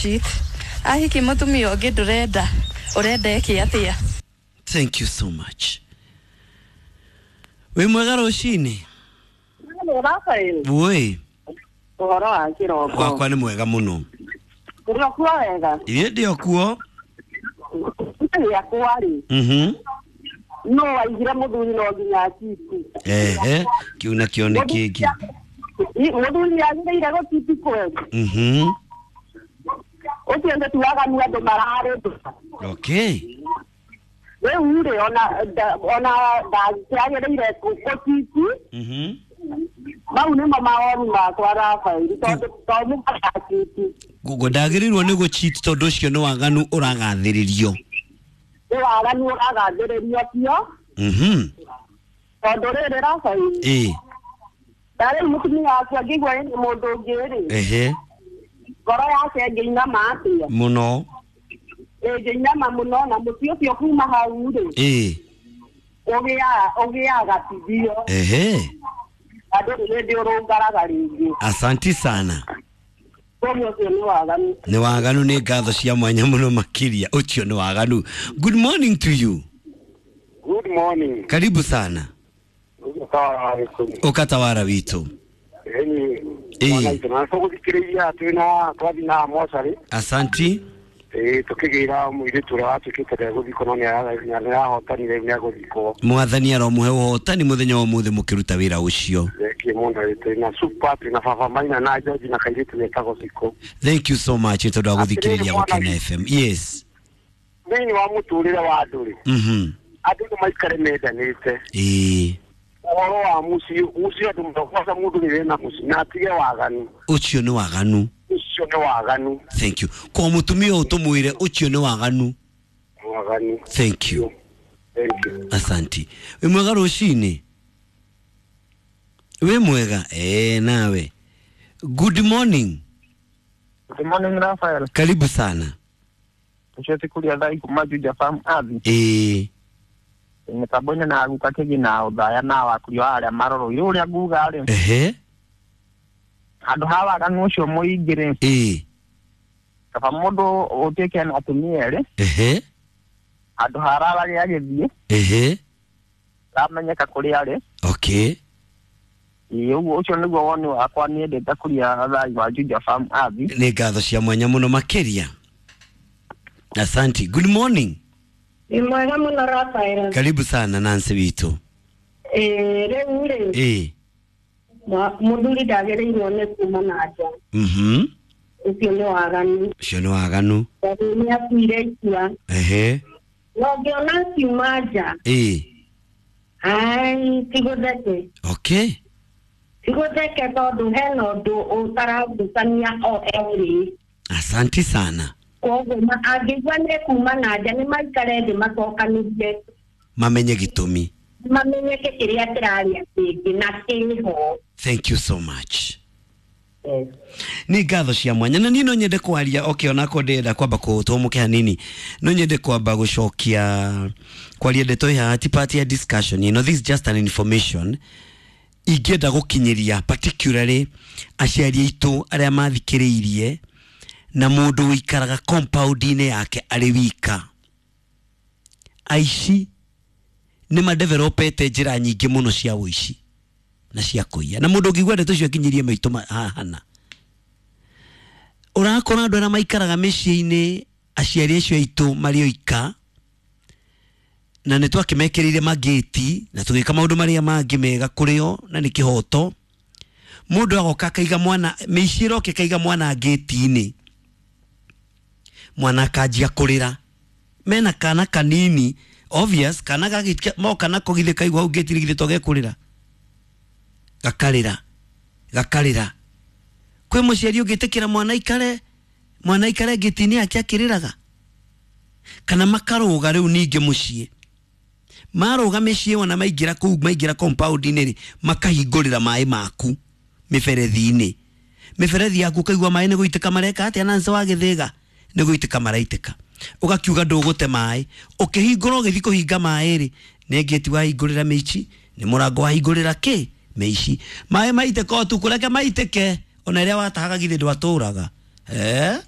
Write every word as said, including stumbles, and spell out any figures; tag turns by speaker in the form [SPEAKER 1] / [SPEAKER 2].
[SPEAKER 1] gũcheat. Ahiki mũtumia ũngĩ ndũrenda, ũrenda eke atĩa?
[SPEAKER 2] Thank you so much. Wĩ mwega rũcinĩ?
[SPEAKER 3] Rafael,
[SPEAKER 2] Woi,
[SPEAKER 3] ũhoro wa kĩroko.
[SPEAKER 2] Wakwa nĩ mwega mũno.
[SPEAKER 3] Ũrĩ okuo wega?
[SPEAKER 2] Ithuĩ ndĩ o kuo.
[SPEAKER 3] Gĩakwa rĩ,
[SPEAKER 2] Mhm.
[SPEAKER 3] no waigire mũthuri no nginya achiti.
[SPEAKER 2] Ehe, kĩu nakĩo nĩ kĩngĩ.
[SPEAKER 3] Mũthuri agĩrĩire gũchiti kweli?
[SPEAKER 2] Mhm.
[SPEAKER 3] Ũcio nĩ ti waganu andũ mararĩ.
[SPEAKER 2] Okay.
[SPEAKER 3] Rĩu rĩ, ona nda- ona ndangĩagĩrĩire gũchiti.
[SPEAKER 2] Mhm.
[SPEAKER 3] Mau nĩmo mawoni makwa, Rafael, tondũ to mũhaka achiti.
[SPEAKER 2] Gugo ndagĩrĩirwo nĩ gũcheat tondũ ũcio nĩ waganu ũragathĩrĩrio.
[SPEAKER 3] Nĩ waganu ũragathĩrĩrio cio.
[SPEAKER 2] Mhm.
[SPEAKER 3] Tondũ rĩrĩ, Rafael,
[SPEAKER 2] Ĩ.
[SPEAKER 3] ta rĩu mũtumia waku angĩigua ĩna mũndũ ũngĩ rĩ,
[SPEAKER 2] Ehe.
[SPEAKER 3] ngoro yake ĩngĩinama atĩa?
[SPEAKER 2] Mũno.
[SPEAKER 3] Ĩngĩinama mũno, na mũciĩ ũcio kuma hau rĩ,
[SPEAKER 2] Ĩ.
[SPEAKER 3] ũgĩaga ũgĩaga tithio.
[SPEAKER 2] Ehe.
[SPEAKER 3] Na ndũrĩ hĩndĩ ũrũngaraga rĩngĩ.
[SPEAKER 2] Asanti sana.
[SPEAKER 3] Koguo ũcio nĩ waganu.
[SPEAKER 2] Nĩ waganu, nĩ ngatho cia mwanya mũno makĩria. Ũcio nĩ waganu. Good morning to you.
[SPEAKER 4] Good morning.
[SPEAKER 2] Karibu sana. Ũkatawara witũ.
[SPEAKER 4] Eni.
[SPEAKER 2] Ĩĩ.
[SPEAKER 4] Mwana itũ na tũgũthikĩrĩria twĩna twathi na mocarĩ.
[SPEAKER 2] Asanti.
[SPEAKER 4] Ĩĩ, tũkĩgĩra mũirĩtu ũrĩa watuĩkĩte ndegũthikwo, no nĩahotanire, rĩu nĩegũthikwo.
[SPEAKER 2] Mwathani aromuhe ũhotani mũthenya wa ũmũthĩ mũkĩruta wĩra ũcio.
[SPEAKER 4] Thengiũ mũno. Twĩna super, twĩna baba Maina na George na kairĩtu getagwo Cikũ.
[SPEAKER 2] Thank you so much nĩ tondũ wa gũthikĩrĩria
[SPEAKER 4] Atĩrĩrĩ, mwana.
[SPEAKER 2] Gũkena F M. Yes.
[SPEAKER 4] Thĩinĩ wa mũtũrĩre wa andũ rĩ,
[SPEAKER 2] Mhm.
[SPEAKER 4] andũ nĩ maikare mendanĩte.
[SPEAKER 2] Ĩĩ.
[SPEAKER 4] Ũhoro wa mũciĩ, mũciĩ andũ kwanza mũndũ nĩ na mũciĩ na atige waganu.
[SPEAKER 2] Ũcio nĩ waganu.
[SPEAKER 4] Ũcio nĩ waganu.
[SPEAKER 2] Thank you. Kwa mũtumia ũyũ tũmwĩre ũcio nĩ waganu.
[SPEAKER 4] Waganu.
[SPEAKER 2] Thank you.
[SPEAKER 4] Thank you.
[SPEAKER 2] Asanti. Wĩ mwega rũcinĩ? Wĩ mwega? Eh, nawe. Good morning.
[SPEAKER 5] Good morning, Raphael.
[SPEAKER 2] Karibu sana.
[SPEAKER 5] Ũcio ti kũrĩa thaa kuma Juja Farm Athi.
[SPEAKER 2] Ĩĩ.
[SPEAKER 5] Mĩtambo-inĩ na guka kĩgi na ũthaya na wakurio arĩa marorwo ũrĩa nguga rĩ,
[SPEAKER 2] Ehe.
[SPEAKER 5] handũ ha waganu ũcio mũingĩ rĩ,
[SPEAKER 2] Ĩĩ.
[SPEAKER 5] kaba mũndũ ũtuĩke na atumia erĩ,
[SPEAKER 2] Ehe.
[SPEAKER 5] handũ ha ararage agĩthiĩ
[SPEAKER 2] Ehe.
[SPEAKER 5] ramenyeka kũrĩa arĩ.
[SPEAKER 2] Okay.
[SPEAKER 5] Ĩĩ, ũguo ũcio nĩguo woni wakwa niĩ ndĩta kũrĩa thai wa Juja Farm Athi.
[SPEAKER 2] Nĩ ngatho cia mwanya mũno makĩria. Asanti. Good morning.
[SPEAKER 6] Nĩ mwega mũno, Rafael.
[SPEAKER 2] Karibu sana, Nancy witũ.
[SPEAKER 6] Ĩĩ, rĩu rĩ,
[SPEAKER 2] Ĩĩ.
[SPEAKER 6] mwa- mũthuri ndagĩrĩirwo nĩ kuma na nja.
[SPEAKER 2] Mhm.
[SPEAKER 6] Ũcio nĩ waganu.
[SPEAKER 2] Ũcio nĩ waganu.
[SPEAKER 6] Tondũ nĩ akuire itua.
[SPEAKER 2] Ehe.
[SPEAKER 6] Na ũngĩona akiuma nja,
[SPEAKER 2] Ĩĩ.
[SPEAKER 6] ai, ti gũtheke.
[SPEAKER 2] Okay.
[SPEAKER 6] Ti gũtheke tondũ hena ũndũ ũtaragucania o erĩ.
[SPEAKER 2] Asanti sana.
[SPEAKER 6] Koguo ma- angĩigua nĩ kuma na nja, nĩ maikare thĩ macokanĩrie.
[SPEAKER 2] Mamenye gĩtũmi.
[SPEAKER 6] Mamenyeke kĩrĩa kĩrarĩa kĩngĩ na kĩho.
[SPEAKER 2] Thank you so much.
[SPEAKER 6] Yes.
[SPEAKER 2] Nĩ ngatho cia mwanya, na niĩ no nyende kwaria. Okay, onako ndĩrenda kwamba kũtũmũke hanini, no nyende kwamba gũcokia kwaria ndeto ĩhaha, ti part ya discussion you know, this is just an information ingĩenda gũkinyĩria particularly aciari aitũ arĩa mathikĩrĩirie na mũndũ ũikaraga compound-inĩ yake arĩ wika. Aici nĩ madevelopete njĩra nyingĩ mũno cia ũici na cia kũiya, na mũndũ ũngĩigua ndeto icio akinyĩrie maitũ ma- hahana ũrakora andũ arĩa maikaraga mĩciĩ-inĩ, aciari acio aitũ marĩ oika, na nĩ twakĩmekĩrĩire magĩti na tũgĩka maũndũ marĩa mangĩ mega kũrĩ o, na nĩ kĩhoto. Mũndũ agoka akaiga mwana, mĩici ĩroka ĩkaiga mwana ngĩti-inĩ, mwana akanjia kũrĩra mena kana kanini. Obvious kana gagĩtia moka nako githĩ kaigua hau ngĩti-inĩ, githĩ to gekũrĩra, gakarĩra, gakarĩra. Kwĩ mũciari ũngĩtĩkĩra mwana aikare mwana aikare ngĩti-inĩ yake akĩrĩraga? Kana makarũga rĩu ningĩ mũciĩ, marũga mĩciĩ, ona maingĩra kũu, maingĩra compound-inĩ rĩ, makahingũrĩra maĩ maku mĩberethi-inĩ, mĩberethi yaku ũkaigua maĩ nĩ gũitĩka mareka atĩa, na nca wa gĩthĩga nĩ gũitĩka maraitĩka. Ũgakiuga ndũgũte maĩ, ũkĩhingũra, ũgĩthiĩ kũhinga maĩ rĩ, nĩ ngĩti wahingũrĩra mĩici, nĩ mũrango wahingũrĩra kĩ mĩici. Maĩ maitĩka ũtukũ, reke maitĩke, ona ĩrĩa watahaga githĩ ndwatũraga, eh?